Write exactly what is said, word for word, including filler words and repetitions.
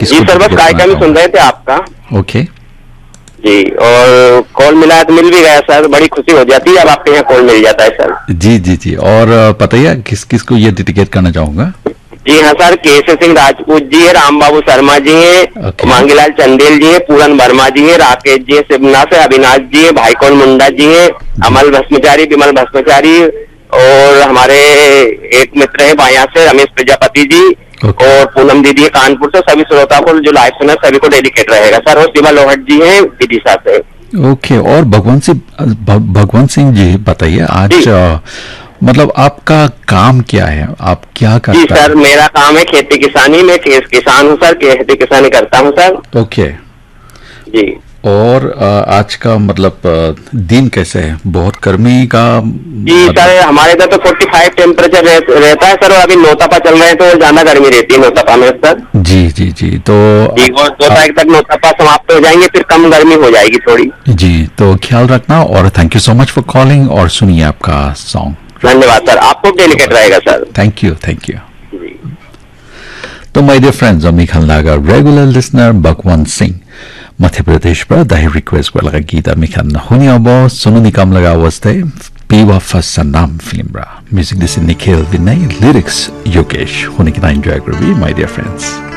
किसको जी सर, बस डेडिकेट करना कार्यक्रम ही सुन चाहोगे? रहे थे आपका। ओके। जी, और कॉल मिला है तो मिल भी गया सर, बड़ी खुशी हो जाती है जब आपके यहाँ कॉल मिल जाता है सर। जी, जी, जी। और अ, बताइए, किस किस को ये डेडिकेट करना चाहूँगा? जी हाँ सर, केशव सिंह राजपूत जी है, राम बाबू शर्मा जी हैं, ओके। मांगीलाल चंदेल जी हैं, पूरन वर्मा जी हैं, राकेश जी हैं, शिवनाथ से अविनाश जी हैं, भाईकौन मुंडा जी हैं, अमल भस्मचारी, विमल भस्मचारी, और हमारे एक मित्र हैं बायां से रमेश प्रजापति जी, ओके। और पूनम दीदी है कानपुर से। सभी श्रोता को जो लाइव सुना, सभी को डेडिकेट रहेगा सर। और शिवा लोहट जी हैं विदिशा से। ओके। और भगवान सिंह, भ-, भगवान सिंह जी, बताइए आज, जी। अ, मतलब, आपका काम क्या है, आप क्या जी करता सर, है? मेरा काम है खेती किसानी में, किस-, किसान हूँ सर, खेती किसानी करता हूँ सर। ओके। जी। और अ, आज का, मतलब, अ, दिन कैसे है? बहुत गर्मी का जी मतलब सर, हमारे इधर तो फोर्टी फाइव टेम्परेचर रह, रहता है सर, और अभी नौतपा चल रहे हैं तो ज्यादा गर्मी रहती है नौतपा में सर। जी, जी, जी। तो जी, और दो तारीख तक नौतपा समाप्त हो जाएंगे, फिर कम गर्मी हो जाएगी थोड़ी। जी, तो ख्याल रखना और thank you so much for calling। और सुनिए आपका सॉन्ग। धन्यवाद सर, आपको डेडिकेट रहेगा sir. Thank you, thank you। जी। To my dear friends, ami khan laga regular listener Bhagwan Singh, Madhya Pradesh pra dahi request kura laga geet ami khan huni abo, Sonu Nigam laga awaz te, Bewafa Sanam film pra. Music dise Nikhil Vinay, lyrics Yogesh. Huni kena enjoy kuribi, my dear friends.